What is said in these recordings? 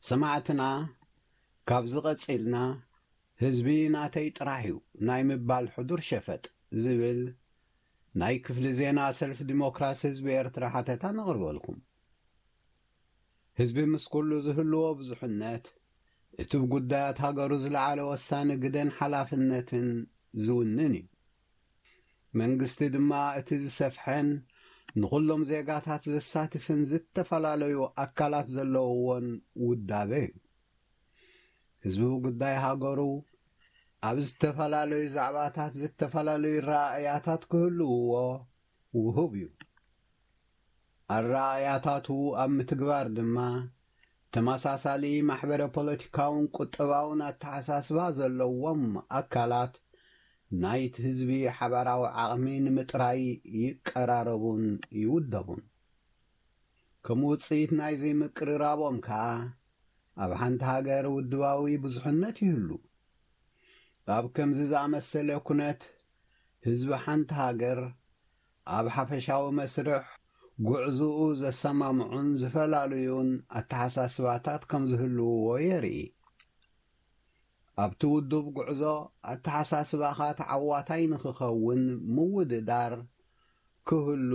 ሰማዕትና፣ ካብዚ ቀጺልና ህዝቢ ናተይ ጥራሕ እዩ ናይ ምባል ሕዱር ሸፈጥ ዝብል ናይ ክፍሊ ዜና ሰልፊ ዲሞክራሲ ህዝቢ ኤርትራ ሓተታ ነቕርበልኩም። ህዝቢ ምስ ኩሉ ዝህልዎ ብዙሕነት፣ እቲ ብጉዳያት ሃገሩ ዝለዓለ ወሳኒ ግደን ሓላፍነትን ዝውንን እዩ። መንግስቲ ድማ እቲ ዝሰፍሐን ንኹሎም ዜጋታት ዘሳትፍን ዝተፈላለዩ ኣካላት ዘለውዎን ውዳበ እዩ። ህዝቢ ብጉዳይ ሃገሩ ኣብ ዝተፈላለዩ ዛዕባታት ዝተፈላለዩ ረኣያታት ክህልውዎ ውሁብ እዩ። ኣረኣያታቱ ኣብ ምትግባር ድማ ተመሳሳሊ ማሕበረ ፖለቲካውን ቁጠባውን ኣተሓሳስባ ዘለዎም ኣካላት ናይቲ ህዝቢ ሓባራዊ ዓቕሚ ንምጥራይ ይቀራረቡን ይውደቡን። ከም ውጽኢት ናይዚ ምቅርራቦም ከኣ ኣብ ሓንቲ ሃገር ውድባዊ ብዙሕነት ይህሉ። ኣብ ከምዚ ዝኣመሰለ ኩነት ህዝቢ ሓንቲ ሃገር ኣብ ሓፈሻዊ መስርሕ ጉዕዝኡ ዘሰማምዑን ዝፈላለዩን ኣተሓሳስባታት ከም ዝህልውዎ የርኢ። ኣብቲ ውዱብ ጉዕዞ ኣተሓሳስባኻ ተዓዋታይ ንኽኸውን ምውድዳር ክህሉ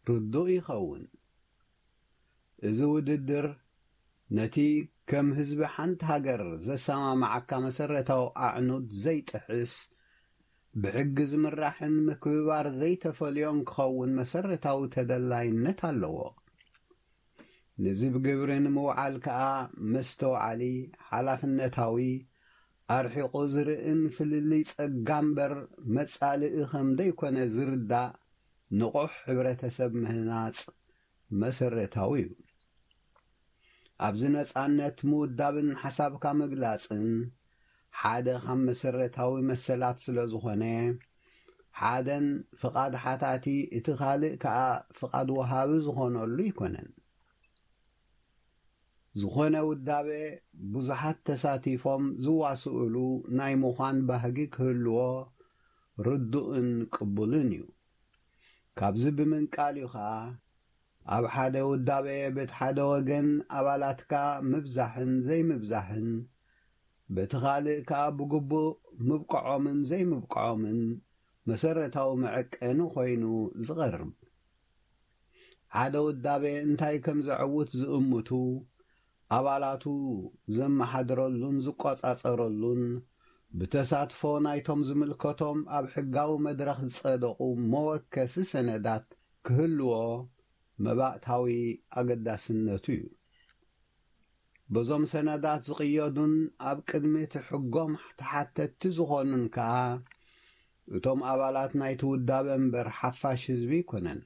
ርዱእ ይኸውን። እዚ ውድድር ነቲ ከም ህዝቢ ሓንቲ ሃገር ዘሰማምዓካ መሰረታዊ ኣዕኑድ ዘይጥሕስ፣ ብሕጊ ዝምራሕን ምክብባር ዘይተፈልዮን ክኸውን መሰረታዊ ተደላይነት ኣለዎ። ነዚ ብግብሪ ንምውዓል ከኣ መስተውዓሊ፣ ሓላፍነታዊ፣ ኣርሒቑ ዝርእን ፍልልይ ጸጋ እምበር መጻልኢ ከም ዘይኮነ ዝርዳእ ንቑሕ ሕብረተሰብ ምህናጽ መሰረታዊ እዩ። ኣብዚ ነጻነት ምውዳብን ሓሳብካ ምግላጽን ሓደ ካብ መሰረታዊ መሰላት ስለ ዝኾነ፣ ሓደን ፍቓድ ሓታቲ እቲ ካልእ ከኣ ፍቓድ ወሃቢ ዝኾነሉ ኣይኮነን። ዝኾነ ውዳበ ብዙሓት ተሳቲፎም ዝዋስኡሉ ናይ ምዃን ባህጊ ክህልዎ ርዱእን ቅቡልን እዩ። ካብዚ ብምንቃል እዩ ኸኣ ኣብ ሓደ ውዳበ በቲ ሓደ ወገን ኣባላትካ ምብዛሕን ዘይምብዛሕን፣ በቲ ካልእ ከኣ ብግቡእ ምብቅዖምን ዘይምብቅዖምን መሰረታዊ መዐቀኒ ኮይኑ ዝቐርብ። ሓደ ውዳበ እንታይ ከም ዘዕውት ዝእምቱ፣ ኣባላቱ ዘመሓድረሉን ዝቆጻጸረሉን፣ ብተሳትፎ ናይቶም ዝምልከቶም ኣብ ሕጋዊ መድረኽ ዝጸደቑ መወከሲ ሰነዳት ክህልዎ መባእታዊ ኣገዳስነቱ እዩ። በዞም ሰነዳት ዝቕየዱን ኣብ ቅድሚ እቲ ሕጎም ተሓተትቲ ዝኾኑን ከኣ እቶም ኣባላት ናይቲ ውዳበ እምበር ሓፋሽ ህዝቢ ኣይኮነን።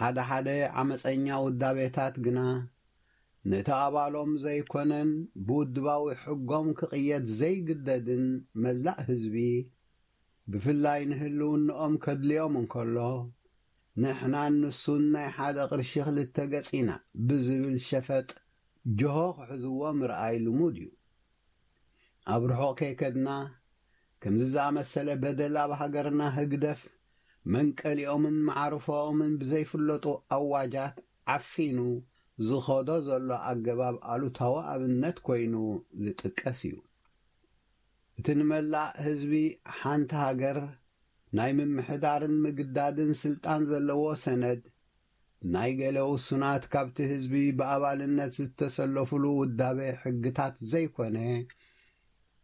ሓደ ሓደ ዓመጸኛ ውዳቤታት ግና ነቲ ኣባሎም ዘይኮነን ብውድባዊ ሕጎም ክቕየድ ዘይግደድን መላእ ህዝቢ፣ ብፍላይ ንህልውንኦም ከድልዮም እንከሎ፣ ንሕናን ንሱን ናይ ሓደ ቅርሺ ክልተ ገጽ ኢና ብዝብል ሸፈጥ ጅሆ ክሕዝዎ ምርኣይ ልሙድ እዩ። ኣብ ርሑቕ ከይከድና፣ ከምዚ ዝኣመሰለ በደል ኣብ ሃገርና ህግደፍ መንቀሊኦምን መዓርፎኦምን ብዘይፍለጡ ኣዋጃት ዓፊኑ ዝኸዶ ዘሎ ኣገባብ ኣሉታዊ ኣብነት ኮይኑ ዝጥቀስ እዩ። እቲ ንመላእ ህዝቢ ሓንቲ ሃገር ናይ ምምሕዳርን ምግዳድን ስልጣን ዘለዎ ሰነድ፣ ናይ ገለ ውሱናት ካብቲ ህዝቢ ብኣባልነት ዝተሰለፉሉ ውዳበ ሕግታት ዘይኮነ፣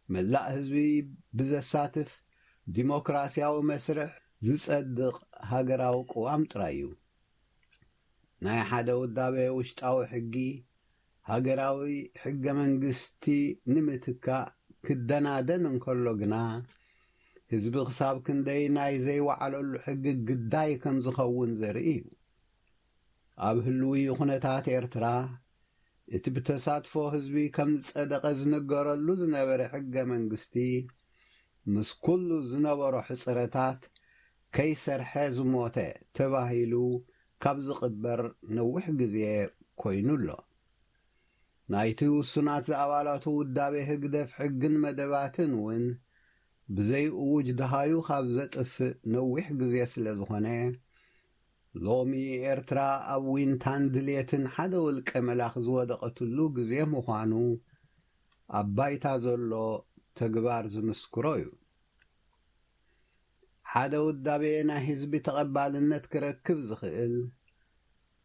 መላእ ህዝቢ ብዘሳትፍ ዲሞክራሲያዊ መስርሕ ዝጸድቕ ሃገራዊ ቅዋም ጥራይ እዩ። ናይ ሓደ ውዳበ ውሽጣዊ ሕጊ፣ ሃገራዊ ሕገ መንግስቲ ንምትካእ ክደናደን እንከሎ ግና፣ ህዝቢ ክሳብ ክንደይ ናይ ዘይወዓለሉ ሕጊ ግዳይ ከም ዝኸውን ዘርኢ እዩ። ኣብ ህልዊ ኩነታት ኤርትራ፣ እቲ ብተሳትፎ ህዝቢ ከም ዝጸደቐ ዝንገረሉ ዝነበረ ሕገ መንግስቲ፣ ምስ ኩሉ ዝነበሮ ሕጽረታት፣ ከይሰርሐ ዝሞተ ተባሂሉ ካብ ዝቕበር ነዊሕ ግዜ ኮይኑ ኣሎ። ናይቲ ውሱናት ዝኣባላቱ ውዳቤ ህግደፍ ሕግን መደባትን እውን ብዘይ እዉጅ ደሃዩ ካብ ዘጥፍእ ነዊሕ ግዜ ስለ ዝኾነ፣ ሎሚ ኤርትራ ኣብ ዊንታን ድልየትን ሓደ ውልቀ መላኺ ዝወደቐትሉ ግዜ ምዃኑ ኣብ ባይታ ዘሎ ተግባር ዝምስክሮ እዩ። ሓደ ውዳቤ ናይ ህዝቢ ተቐባልነት ክረክብ ዝኽእል፣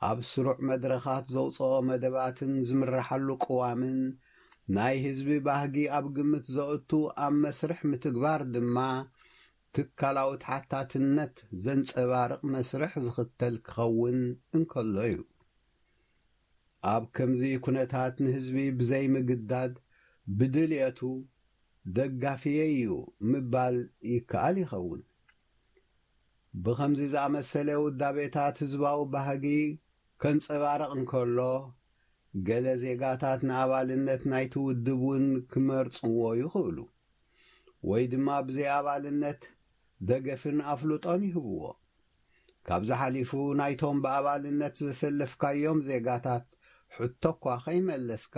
ኣብ ስሩዕ መድረኻት ዘውፅኦ መደባትን ዝምረሓሉ ቅዋምን ናይ ህዝቢ ባህጊ ኣብ ግምት ዘእቱ ኣብ መስርሕ ምትግባር ድማ ትካላዊ ተሓታትነት ዘንፀባርቕ መስርሕ ዝኽተል ክኸውን እንከሎ እዩ። ኣብ ከምዚ ኩነታት ንህዝቢ ብዘይምግዳድ ብድልየቱ ደጋፊየይ እዩ ምባል ይከኣል ይኸውን። ብኸምዚ ዝኣመሰለ ውዳቤታት ህዝባዊ ባህጊ ከንጸባርቕ እንከሎ፣ ገለ ዜጋታት ንኣባልነት ናይቲ ውድብ እውን ክመርጽዎ ይኽእሉ፣ ወይ ድማ ብዘይ ኣባልነት ደገፍን ኣፍልጦን ይህብዎ። ካብዚ ሓሊፉ ናይቶም ብኣባልነት ዘሰለፍካዮም ዜጋታት ሕቶ እኳ ከይመለስካ፣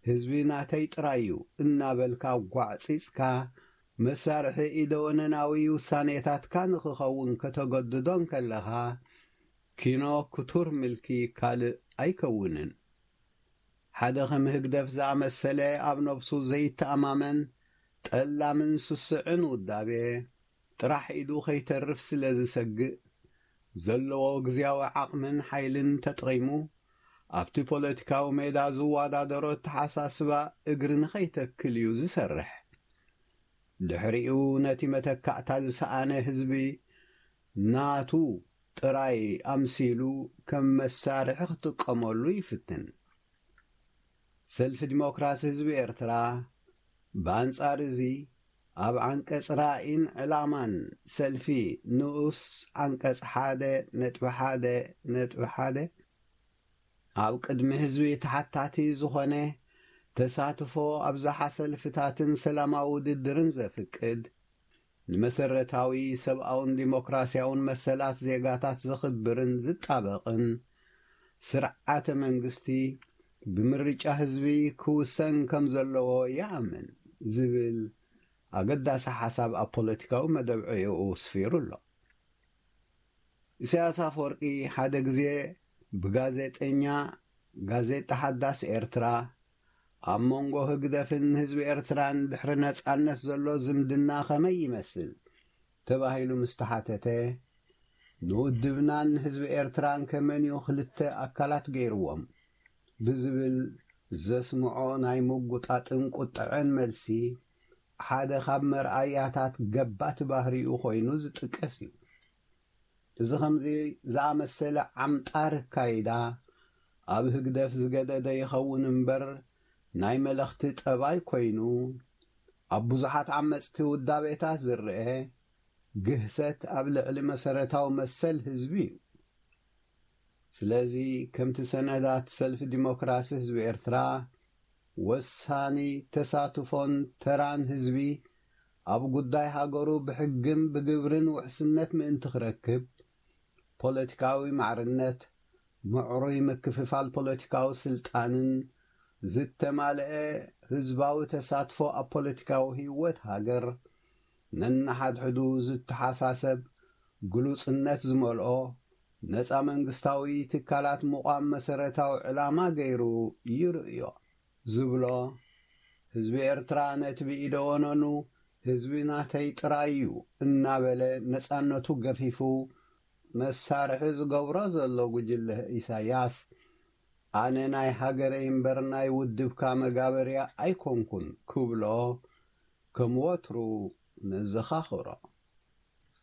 ህዝቢ ናተይ ጥራይ እዩ እናበልካ ጓዕጺጽካ፣ መሳርሒ ኢደወነናዊ ውሳኔታትካ ንኽኸውን ከተገድዶ እንከለኻ፣ ኪኖ ክቱር ምልኪ ካልእ ኣይከውንን። ሓደ ከም ህግደፍ ዝኣመሰለ ኣብ ነብሱ ዘይተኣማመን፣ ጠላምን ስሱዕን ውዳቤ፣ ጥራሕ ኢዱ ከይተርፍ ስለ ዝሰግእ፣ ዘለዎ ግዝያዊ ዓቕምን ሓይልን ተጠቒሙ፣ ኣብቲ ፖለቲካዊ ሜዳ ዝወዳደሮ ኣተሓሳስባ እግሪ ንኸይተክል እዩ ዝሰርሕ። ድሕሪኡ ነቲ መተካእታ ዝሰኣነ ህዝቢ ናቱ ጥራይ ኣምሲሉ ከም መሳርሒ ክጥቀመሉ ይፍትን። ሰልፊ ዲሞክራሲ ህዝቢ ኤርትራ፣ ብኣንጻር እዚ፣ ኣብ ዓንቀጽ ራእይን ዕላማን ሰልፊ ንኡስ ዓንቀጽ ሓደ ነጥቢ ሓደ ነጥቢ ሓደ፣ ኣብ ቅድሚ ህዝቢ ተሓታቲ ዝኾነ፣ ተሳትፎ ኣብዝሓ ሰልፍታትን ሰላማዊ ውድድርን ዘፍቅድ፣ ንመሰረታዊ ሰብኣውን ዲሞክራስያውን መሰላት ዜጋታት ዘኽብርን ዝጣበቕን ስርዓተ መንግስቲ ብምርጫ ህዝቢ ክውሰን ከም ዘለዎ ይኣምን ዝብል ኣገዳሲ ሓሳብ ኣብ ፖለቲካዊ መደብ ዕዮኡ ስፊሩ ኣሎ። ኢሳያስ ኣፈወርቂ ሓደ ግዜ ብጋዜጠኛ ጋዜጣ ሓዳስ ኤርትራ ኣብ መንጎ ህግደፍን ህዝቢ ኤርትራን ድሕሪ ነጻነት ዘሎ ዝምድና ከመይ ይመስል ተባሂሉ ምስ ተሓተተ፣ ንውድብናን ህዝቢ ኤርትራን ከመንዩ ክልተ ኣካላት ገይርዎም ብዝብል ዘስምዖ ናይ ምጉጣጥን ቁጥዐን መልሲ ሓደ ካብ መርኣያታት ገባቲ ባህሪኡ ኮይኑ ዝጥቀስ እዩ። እዚ ከምዚ ዝኣመሰለ ዓምጣር ኣካይዳ ኣብ ህግደፍ ዝገደደ ይኸውን እምበር ናይ መለኽቲ ጠባይ ኮይኑ ኣብ ብዙሓት ዓመጽቲ ውዳቤታት ዝረአ ግህሰት ኣብ ልዕሊ መሰረታዊ መሰል ህዝቢ እዩ። ስለዚ ከምቲ ሰነዳት ሰልፊ ዲሞክራሲ ህዝቢ ኤርትራ ወሳኒ ተሳትፎን ተራን ህዝቢ ኣብ ጉዳይ ሃገሩ ብሕግን ብግብርን ውሕስነት ምእንቲ ክረክብ፣ ፖለቲካዊ ማዕርነት፣ ምዕሩይ ምክፍፋል ፖለቲካዊ ስልጣንን ዝተማልአ ህዝባዊ ተሳትፎ ኣብ ፖለቲካዊ ህይወት ሃገር ነንሓድሕዱ ዝተሓሳሰብ ግሉጽነት ዝመልኦ ነጻ መንግስታዊ ትካላት ምቋም መሰረታዊ ዕላማ ገይሩ ይርእዮ ዝብሎ፣ ህዝቢ ኤርትራ ነቲ ብኢደ ወነኑ ህዝቢ ናተይ ጥራይ እዩ እናበለ ነጻነቱ ገፊፉ መሳርሒ ዝገብሮ ዘሎ ጉጅለ ኢሳያስ፣ ኣነ ናይ ሃገረይ እምበር ናይ ውድብካ መጋበርያ ኣይኮንኩን ክብሎ ከም ወትሩ ነዘኻኽሮ።